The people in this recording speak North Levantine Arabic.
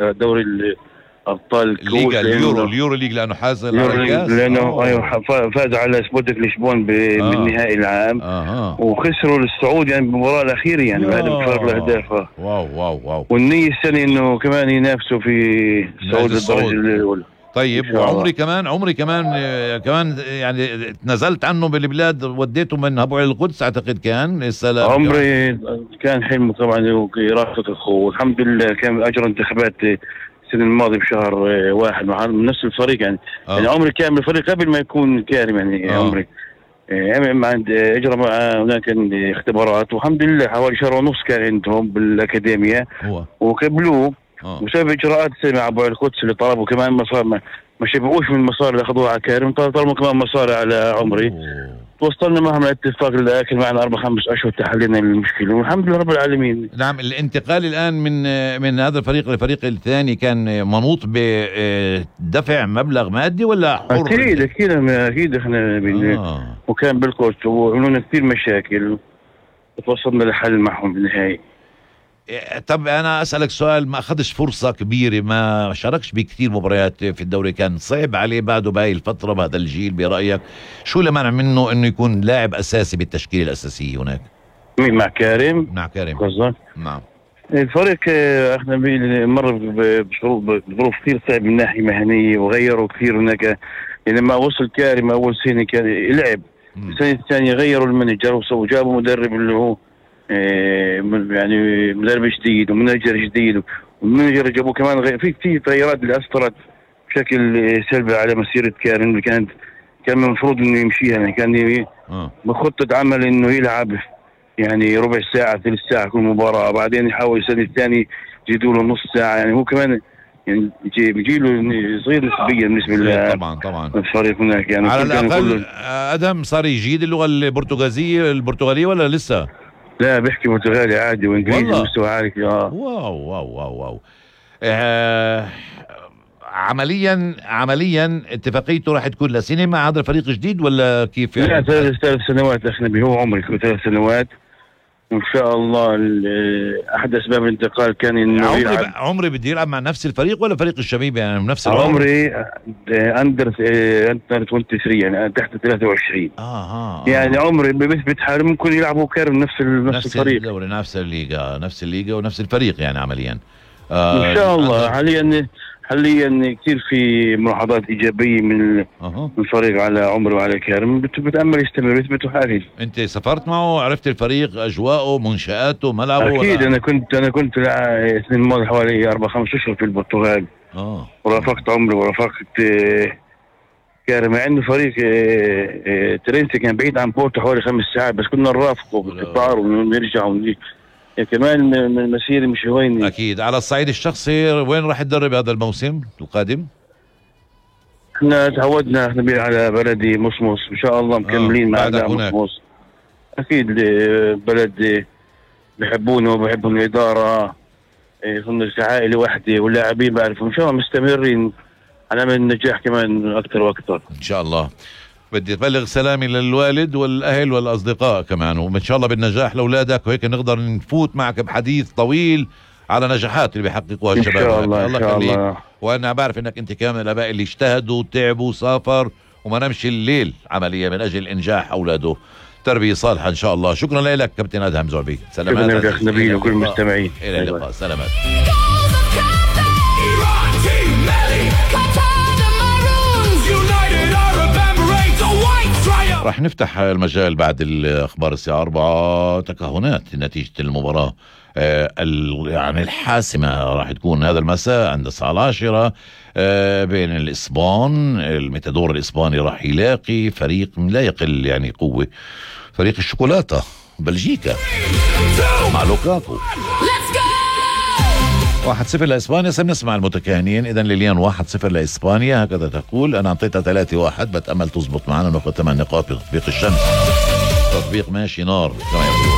دوري ابطال الليغا اليورو ليج لانه حاز على الكاس، لانه فاز على سبورتنج لشبون بالنهائي العام. وخسروا السعودي يعني بالمباراه الاخيره يعني بهذا بفرق الاهداف. واو والنية السنه انه كمان ينافسوا في الصعود للدرجه الاولى. طيب وعمري كمان يعني تنزلت عنه بالبلاد، وديته من ابو علي القدس اعتقد كان السلام. عمري كان حلمه طبعا يرافق اخوه، والحمد لله كان اجرى انتخابات السنة الماضية بشهر 1 من نفس الفريق يعني. يعني عمري كان من الفريق قبل ما يكون كارم يعني. عمري عند اجرى هناك اختبارات، والحمد لله حوالي شهر ونص كان عندهم بالاكاديمية وقبلوه. وسبب اجراءات مع ابو القدس اللي طلبوا كمان مصاري، ما شبعوش من المصاري اللي اخذوها على كارم، طلبوا كمان مصاري على عمري. توصلنا معهم لاتفاق الاكل معنا 4-5 اشهر تحلينا المشكله، والحمد لله رب العالمين. نعم. الانتقال الان من هذا الفريق للفريق الثاني كان منوط بدفع مبلغ مادي ولا حر؟ اكيد احنا وكان بالكوست وعملونا كثير مشاكل وتوصلنا لحل معهم بالنهايه. طب انا اسالك سؤال، ما اخذش فرصه كبيره، ما شاركش بكثير مباريات في الدوري، كان صعب عليه بعده بهاي الفتره بهذا الجيل برايك؟ شو اللي منع منه انه يكون لاعب اساسي بالتشكيله الاساسيه هناك؟ مين مع كارم قصدك؟ نعم. الفريق احنا مر بظروف كثير صعبه من ناحيه مهنيه، وغيروا كثير هناك. لما وصل كارم اول سنه كان يلعب، السنه الثانيه غيروا المانجر وجابوا مدرب اللي هو يعني مدرب جديد ومناجر جديد، والمناجر جابوه كمان في تغيرات اللي اثرت بشكل سلبي على مسيره كارم اللي كان المفروض انه يمشيها. يعني كان بخطه عمل انه يلعب يعني ربع ساعه ثلث ساعه كل مباراه، بعدين يحاول السنه الثانيه يزيدوا له نص ساعه. يعني هو كمان يعني بيجي له صغير نسبيا بالنسبه طبعا الفريق هناك. يعني على الاقل ادم صار يجيد اللغه البرتغاليه ولا لسه؟ لا بيحكي برتغالي عادي وانجليزي مستوى عالي. واو عمليا اتفاقيته راح تكون لسنه مع هذا الفريق الجديد ولا كيف يعني؟ لا 3 سنوات احنا هو عمري 3 سنوات وان شاء الله. احد اسباب الانتقال كان انه عمري بده يلعب مع نفس الفريق ولا فريق الشبيب يعني نفس العمر؟ عمري اندر 23 يعني تحت 23. يعني عمري بيثبت حاله ممكن يلعبوا كارم نفس الفريق، الدوري نفس الليغا ونفس الفريق يعني عمليا. ان شاء الله. حاليا كثير في ملاحظات ايجابيه من الفريق على عمري وعلى كارم، بتامل يستمر يثبتوا حالهم. انت سافرت معه، عرفت الفريق، اجواءه، منشاته، ملعبه؟ اكيد انا كنت السنه الماضيه حوالي 4-5 اشهر في البرتغال. ورافقت عمري ورافقت كارم، مع انه فريق ترينسي كان بعيد عن بورتو حوالي 5 ساعات، بس كنا نرافقه بالقطار ونرجع كمان من المسيرة مش هويني. أكيد. على الصعيد الشخصي وين راح تدرب هذا الموسم القادم؟ احنا تعودنا احنا على بلدي مصمص ان شاء الله مكملين مع مصمص. أكيد بلد بحبونا وبحبهم الإدارة، كنا عائلة واحدة واللاعبين بعرفوا. إن شاء الله مستمرين على أمل النجاح كمان أكثر وأكثر إن شاء الله. بدي أبلغ سلامي للوالد والأهل والأصدقاء كمان، وإن شاء الله بالنجاح لأولادك، وهيك نقدر نفوت معك بحديث طويل على نجاحات اللي بيحققوها الشباب. إن شاء الله. إن شاء الله. وأنا بعرف إنك أنت كمان من الآباء اللي اجتهدوا وتعبوا وسافر وما نمش الليل عملية من أجل إنجاح أولاده. تربية صالحة إن شاء الله. شكرا لك كابتن أدهم زعبي. سلامات أخ نبيل وكل المستمعين. إلى اللقاء. سلامات. راح نفتح المجال بعد الأخبار الساعة 4 تكهنات نتيجة المباراة يعني الحاسمة راح تكون هذا المساء عند الساعة 10 بين الإسبان. الميتادور الإسباني راح يلاقي فريق لا يقل يعني قوة، فريق الشوكولاتة بلجيكا مع لوكاكو. 1-0 لإسبانيا. سنسمع المتكهنين. إذن ليليان 1-0 لإسبانيا هكذا تقول. أنا أعطيتها 3-1 بتأمل تزبط معنا، ناخذ 8 نقاط بتطبيق الشمس. تطبيق ماشي نار كما يقولون.